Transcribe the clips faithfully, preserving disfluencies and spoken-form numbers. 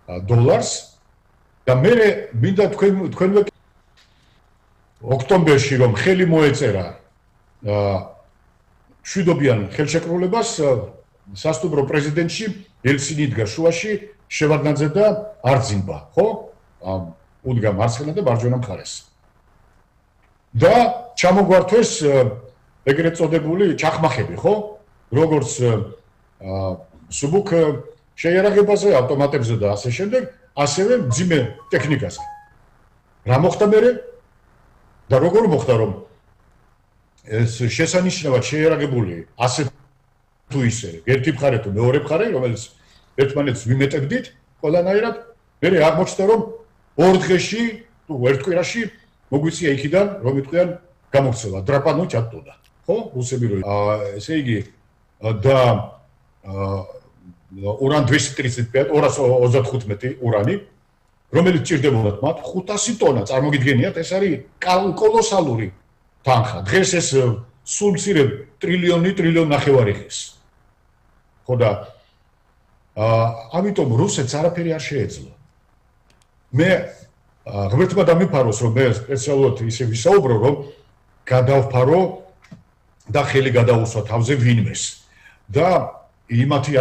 დოლარს და მე მინდა თქვენ თქვენვე ოქტომბერში რომ ხელი მოეწერა შვიდობიან ხელშეკრულებას სასტუმრო პრეზიდენტში ელცინი იდგა შუაში შევარდნაძე და არძინბა ხო უდგა მარცხენა და მარჯვენა მხარეს და ჩამოგვართვეს ეგრეთ წოდებული ჩახმახები ხო როგორც სუბუქ შეიარაღებაზე ავტომატებზე და ასე შემდეგ ასევე მძიმე ტექნიკაზე რა მოხდა მერე და როგორ მოხდა რომ ეს შესანიშნავად შეიარაღებული ასე თუ ისე ერთი მხარე თუ მეორე მხარე რომელიც ერთმანეთს ვიმეტებდით ყველანაირად მე აღმოჩნდა რომ ორ დღეში თუ ერთ კვირაში მოგვიწია იქიდან რომ იტყვიან გამოქცევა დრაპანო ჩატტოდა ხო რუსები რო ესე იგი და уран двести тридцать пять ორას ოცდახუთმეტი урანი რომელიც ჭირდებოდათ მათ ხუთასი ტონა წარმოგიდგენიათ ეს არის კოლოსალური თანხა დღეს ეს სულ მცირე ტრილიონი ტრილიონი ნახევარი ხის ხო და ამიტომ რუსეთს არაფერი არ შეეძლო მე ღმერთმა დამიფაროს რომ მე სპეციალურად ისე ვისაუბრო რომ გადავფარო და ხელი გადაუსვა თავზე ვინმეს და იმათი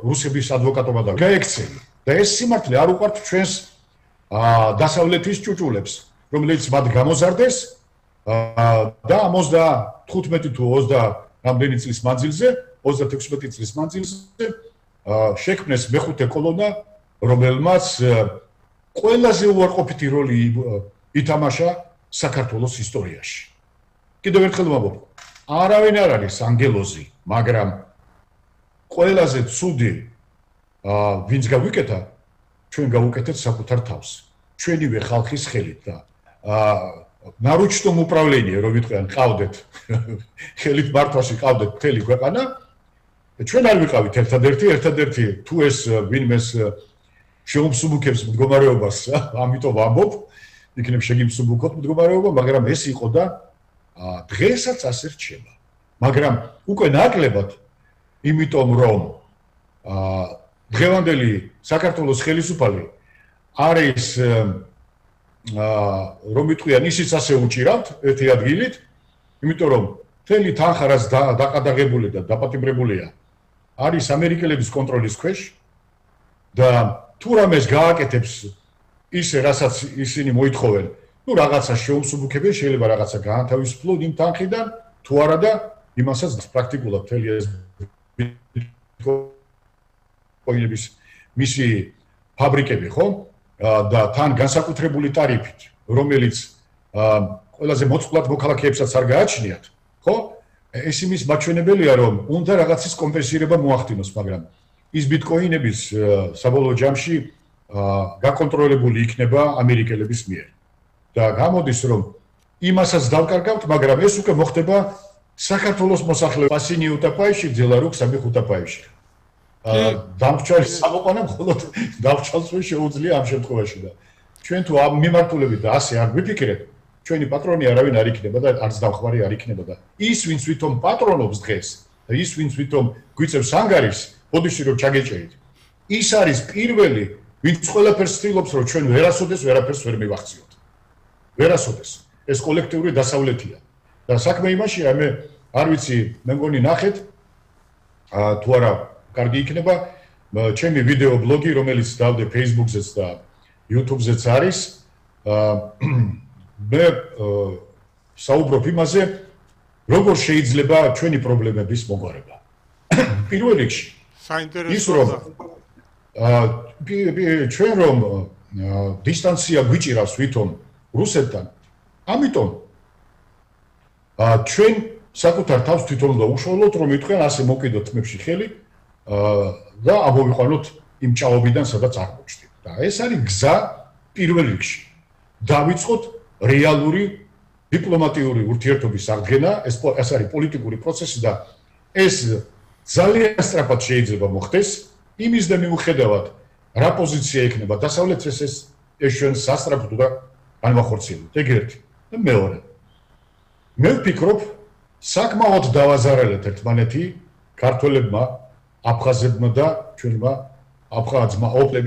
რუსების ადვოკატობა და გაექცევი და ეს სიმართლე არ უყვართ ჩვენს დასავლეთის ჭუჭულებს რომელიც მათ გამოზარდეს და ოცდათხუთმეტი თუ ოცდა რამდენი წლის მანძილზე ოცდათექვსმეტი წლის მანძილზე შექმნეს მეხუთე კოლონა რომელმაც ყველაზე უარყოფითი როლი ითამაშა საქართველოს ისტორიაში კიდევ ერთხელ ვამბობ არავინ არ არის ანგელოზი მაგრამ ყველაზე ცუდი ვინც გავიკეთა ჩვენ გავუკეთეთ საკუთარ თავს ჩვენივე ხალხის ხელით და ნარუჩტომ უპრავლენია რომ ვიტყვიან ყავდეთ ხელით მართვაში ყავდეთ მთელი ქვეყანა ჩვენ არ ვიყავით ერთადერთი ერთადერთი თუ ეს ვინმეს შეუმსუბუქებს მდგომარეობას ამიტომ ვამბობ იქნებ შეგიმსუბუქოთ მდგომარეობა მაგრამ ეს იყო და დღესაც ასე რჩება მაგრამ უკვე ნაკლებად იმიტომ რომ დღევანდელი საქართველოს ხელისუფალი არის რომ იტყვიან ისიც ასე უჭირავთ ერთი ადგილით იმიტომ რომ მთელი თანხა რაც დაყადაღებული და დაპატიმრებულია არის ამერიკელების კონტროლის ქვეშ და თუ რამეს გააკეთებს ისე რასაც ისინი მოითხოვენ ну რაღაცა შეუმსუბუქებენ შეიძლება რაღაცა გაანთავისუფლონ იმ თანხიდან თუ არა და იმასაც პრაქტიკულად მთელი ეს კოინების მისი ფაბრიკები ხო და თან განსაკუთრებული ტარიფით რომელიც ყველაზე მოწყვლად მოქალაქეებსაც არ გააჩნიათ ხო ეს იმის მაჩვენებელია რომ უნდა რაღაცის კომპენსირება მოახდინოს მაგრამ ის ბიტკოინების საბოლოო ჯამში გაკონტროლებული იქნება ამერიკელების მიერ და გამოდის რომ იმასაც დავკარგავთ მაგრამ ეს უკვე მოხდება საქართველოს მოსახლეობა პასინი უტაპაიში ძელარუკ სამი ხუთაპაიში დამრჩალის საყოყანა მხოლოდ დავჭალს ვერ შეუძლია ამ შემთხვევაში და ჩვენ თუ ამ მიმართულებით და ასე არ გვიფიქრეთ ჩვენი პატრონი არავინ არ იქნება და არც დამხმარე არ იქნება და ის ვინც ვითომ პატრონობს დღეს და ის ვინც ვითომ გვიწევს ანგარის ბოდიში რომ ჩაგეჭერით ის არის პირველი ვინც ყველაფერს ცდილობს რომ ჩვენ ვერასოდეს ვერაფერს ვერ მივახციოთ ვერასოდეს ეს კოლექტიური დასავლეთია და საქმე იმაშია მე არ ვიცი მე მგონი ნახეთ თუ არა კარგი იქნება ჩემი ვიდეო ბლოგი რომელიც დავდე Facebook-ზეც და YouTube-ზეც არის მე საუბრობ იმაზე როგორ შეიძლება ჩვენი პრობლემების მოგვარება პირველ რიგში ის რომ ჩვენ რომ დისტანცია გვიჭირავს ვითომ რუსეთთან ამიტომ ჩვენ საკუთარ თავს თვითონ უნდა უშუალოდ რომ იტყვიან ასე მოკიდოთ თმებში ხელი და ამოვიყვანოთ იმ ჭაობიდან სადაც აღმოჩნდით და ეს არის გზა პირველ რიგში დავიწყოთ რეალური დიპლომატიური ურთიერთობის აღდგენა ეს ეს არის პოლიტიკური პროცესი და ეს ძალიან სწრაფად შეიძლება მოხდეს იმის და მიუხედავად რა პოზიცია იქნება დასავლეთს ეს ეს ჩვენ სასწრაფოდ და განვახორციელებთ ეგ ერთი და მეორე მე ვფიქრობ საკმაოდ დავაზარალეთ ერთმანეთი ქართველებმა აფხაზებმა და ჩვენმა აფხაზმა ოპლები